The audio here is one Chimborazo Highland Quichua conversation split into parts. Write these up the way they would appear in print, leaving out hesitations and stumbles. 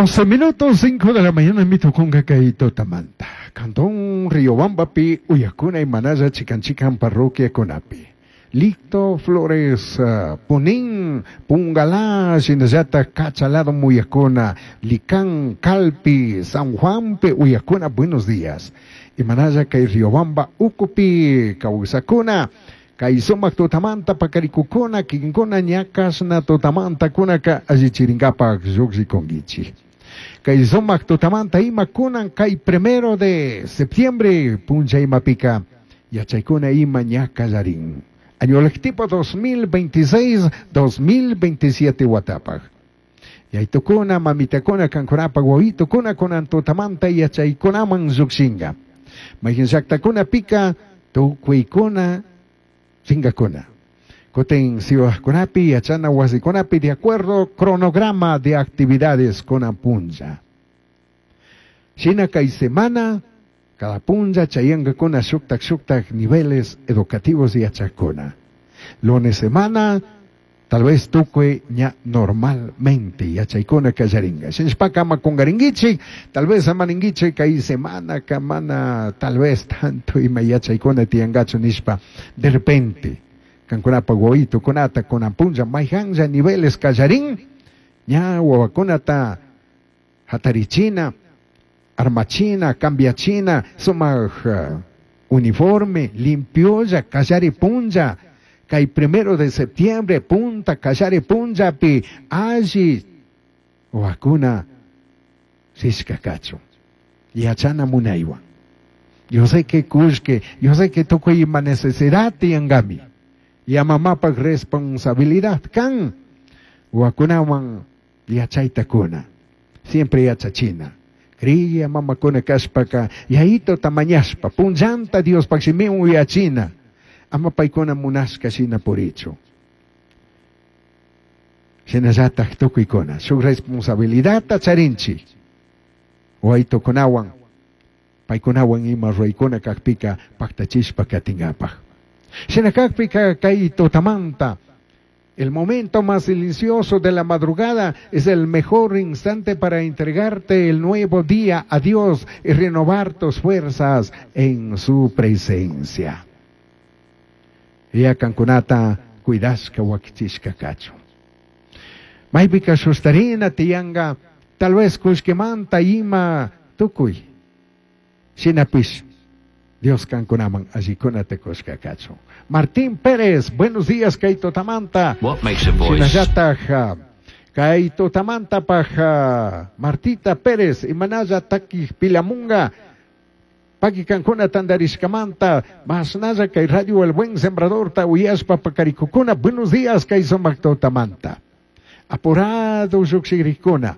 12 minutos 5 de la mañana mitukunga kay tutamanta. Cantón Riobambapi uyakuna imanalla chikan chikan parroquiakunapi. Licto Flores, Punín, Pungalá, shinallata Cachalado Muyacuna, Licán, Calpi, San Juanpe, Uyacuna, buenos días. Imanalla kay Riobamba, Ucupi, Causacuna, kay sumak tutamanta pakarikukuna, kinkuna ñakashna tutamanta kunaka allichirinkapak llukshikunkichik. Kay sumak tutamanta ima kunan kay 1 de septiembre puncha imapika yachaykuna ima ña kallarin. Año lectivo 2026-2027 watapaj. Yaytukuna, mamitakuna, kankunapaj, wawitukuna, kunan tutamanta yachaykunaman llukshinka. Mayqin llaqtakuna pika tukuykuna ringakuna. Kutin siwajkunapi, yachana wasikunapi, de acuerdo cronograma de actividades kunan punlla. Shina kay semana, cada punlla chayankakuna shuktak shuktak niveles educativos yachakuna. Lunes semana, tal vez tukuy ña normalmente yachaykuna kallaringa. Shinashpaka ama kungarinkichik, tal vez amaninkichik kay semana kamana, tal vez tanto ima yachaykuna tiyankachu nishpa, de repente, kankunapa wawitukunata kunan punlla mayhanlla niveles kallarin, ña wawakunata hatarichina, armachina, cambiachina, sumak uniforme, limpiolla, kallari punlla, kay 1 de septiembre, punta, kallari punllapi, alli, wawakuna, rishka kachun, yachana munaywan. Yo sé que kushke, yo sé que tukuy ima necesidad tiyankami, ya mamapak responsabilidad kan, wawakunawan yachayta kuna, siempre yachachina. Kriya mamakuna kashpaka, yayito tamañashpa, punllanta Diospak shimiwan uyachina, ama paykuna munashka shina purichu. Shinallatak tukuykuna, shuk responsabilidadta charinchik, waytukunawan, paykunawan ima ruraykuna kakpika paktachishpa katinkapak. Shina kakpika kay tutamanta, el momento más silencioso de la madrugada es el mejor instante para entregarte el nuevo día a Dios y renovar tus fuerzas en su presencia. Ya kankunata cuidashka wakichishka kachun. Maypika sustarina tiyanga, tal vez kushkimanta ima tukuy. Shinapish, Dios kankunaman allikunata kushka kachun. Martín Pérez, buenos días, kay tutamanta. What makes a voice? Shinallataj, kay tutamantapaj, Martita Pérez, imanalla takij pilamunga, paki kankuna tandarishkamanta, masnalla kay Radio El Buen Sembrador ta uyashpa pakarikukuna, buenos días, kay sumak tutamanta. Apurado llukshigrikuna.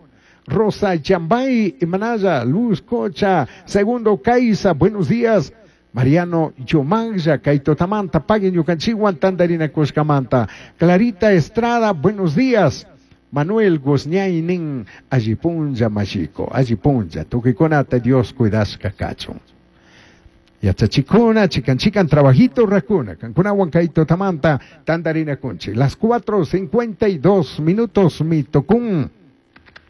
Rosa Chambay, imanalla, Luz Cocha, Segundo Caiza, buenos días. Mariano Yomanja, kay tutamanta, paguen ñukanchikwan tandarina kushkamanta. Clarita Estrada, buenos días. Manuel Guzñaynin, allipunlla mashiko, allipunlla, tukuykunata Dios cuidashka kachun. Yachachikuna, chikan chikan trabajito rakuna, kankunawan kay tutamanta, tandarina kunchi. Las 4:52 minutos mi tocún.